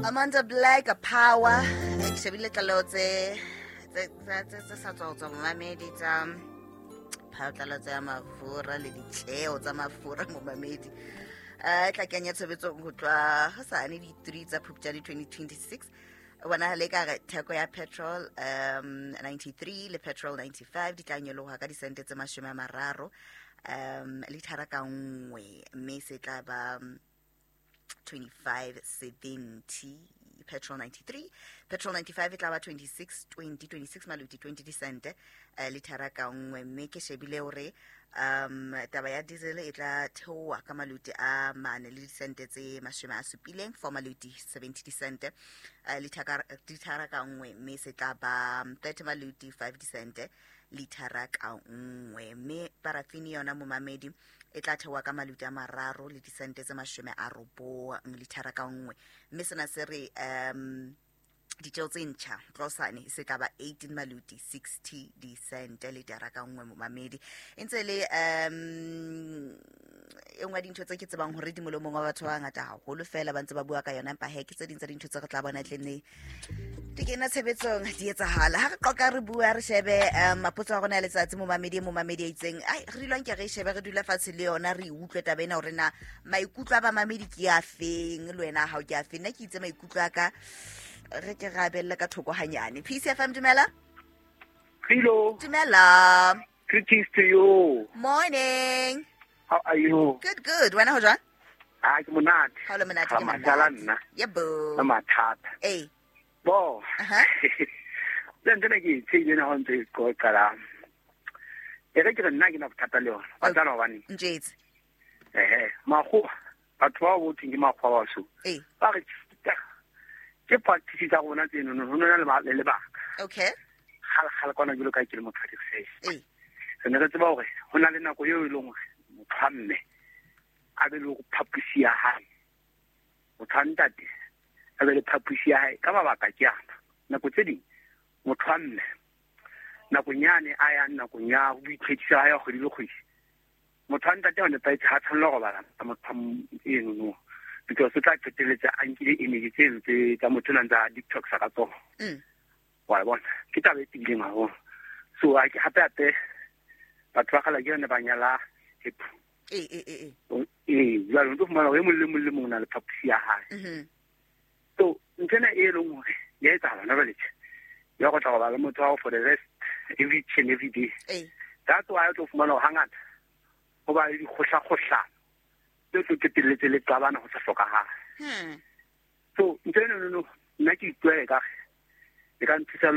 Amanda Black Power. Ke shebile tlaleho tse sa tswa ho tswa momamedi tsa phatlalatso ya mafura le ditjeo tsa mafura momamedi. E tla kenya tshebetsong ho tloha hosane di-3 tsa Phupjane 2026. Bonagale ka re theko ya petrol 93 le petrol 95 di tla nyoloha ka disente tse 30 lithara ka nngwe, mme se tla ba 25.70 petrol 93. Petrol 95 e tla ba 26.20, 26 maluti 20 disente lithara ka nngwe. Mme ke shebile hore taba ya diesel e tla theoha ka maluti a 4 le disente tse 70, 4 maluti 70 disente lithara ka nngwe, mme se tla ba 30 maluti 5 disente lithara ka nngwe. Mme parafini yona momamedi e tla theoha ka maluti a 3 le disente tse 90 lithara ka nngwe. Mme sena se re ditjeo tse ntjha tlosane se tla ba 18 maluti 60 disente lithara ka nngwe momamedi. E ntse le e nngwe ya dintho tse ke tsebang hore di molomong wa batho ba bangata haholo fela ba ntse ba bua ka yona, empa he ke tse ding tsa dintho tse re tla bona tlenne di kena tshebetsong di etsahala. Ha re qoqa re bua re shebe mapotso a rona ya letsatsi momamedi, momamedi a itseng ai re dulwang ke re shebe re dula fatshe le yona re utlwe taba ena hore na maikutlo a bamamedi ke a feng, le wena ha o ke a feng. Nna ke itse maikutlo a ka re ke ra bella ka thoko hanyane. PCFM, dumela. Hello. Dumela. Greetings to you. Morning. How are you? Good, good. Wena ho jwang? Ah, ke monate. Ha o le monate ke monate. Nna. Yebo. Ka mathata. Eh. Bo. Aha. Le ntse ke tsheile na ho ntse qoqa la. E re ke re nna ke na bothata le yona. Ba tla hobane. Njetse. Eh, makgowa. Batho ba botheng ke makgowa ba so. Eh. Ba re ke practice tsa rona tseno no no na le lebaka. Okay. Gala kwana jalo ka ke le motho wa di-research. Eh. Re ne re tseba hore ho na le nako eo e leng hore motho wa mme a be le hore phaposi ya hae, motho wa ntate a be le phaposi ya hae. Ka mabaka ke ana, nako tse ding motho wa mme nakong yane a yang nakong ya ho boitlhwekiso ha ya kgwedi le kgwedi, motho wa ntate wa nepahetse ha tshwanela ho robala motho eno no, because o tla qetelletse a nkile energy tseno tse tsa motho o ntse a detox-a ka tsona. Wa bona, ke taba e tiileng haholo. So hape hape batho ba kgale ke yone ba nyala hip. E. Eh, jwale o tlo fumana hore e mong le mong le mong o na le phaposi ya hae. So ntho ena e leng hore ya etsahala hona jwale tje, ya go tla go ba le motho wa for the rest every and every day. That's why o tlo fumana hore hangata ho ba le dikgohlakgohlano tse tlo qetelletse le qabana ho sa hlokahale. So ntho ena no nna ke ikutlwa ekare e ka nthusa le